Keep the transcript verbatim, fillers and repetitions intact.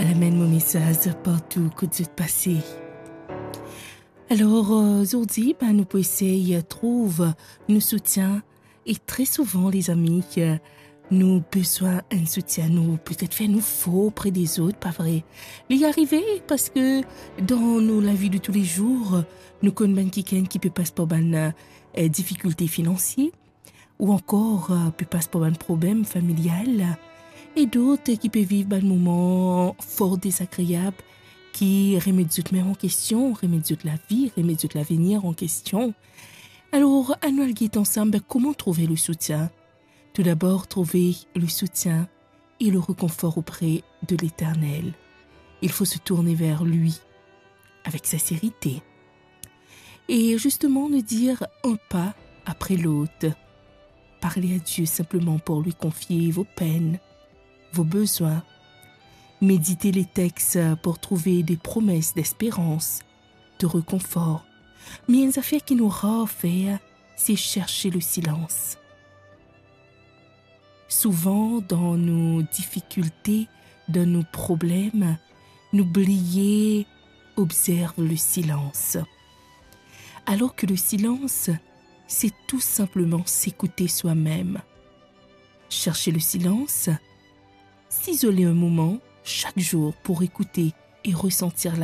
Al amenn mo mesaz partou kot zot pase. Alor, euh, zordi, ben, nou pou esey trouv nou soutien. E tre souvan, lezami, euh, nou bizin enn soutien, nou petet fer nou for pre dezot, pa vre? Li arive parski dan nou lavi de toulezour, nou konn bann kikenn ki pe pas par bann, euh, difikilte finansie, ou ankor, euh, pe pas par bann problem familial, e dot ki pe viv bann moman for dezagreab, ki remet zot mem an kestion, remet zot lavi, remet zot lavenir an kestion. Alor, anou al get ansam, ben, kouma trouve le soutien. Tout d'abord, trouver le soutien et le réconfort auprès de l'Éternel. Il faut se tourner vers lui avec sincérité. Et justement, de dire un pas après l'autre. Parlez à Dieu simplement pour lui confier vos peines, vos besoins. Méditez les textes pour trouver des promesses d'espérance, de réconfort. Me enn zafer ki nou rar fer, c'est chercher le silence. Souvan, dan nou difikilte, dan nou problem, nou bliye observe le silence. Alors que le silence, c'est tout simplement s'écouter soi-même. Chercher le silence, s'isoler un moment chaque jour pour écouter et ressentir la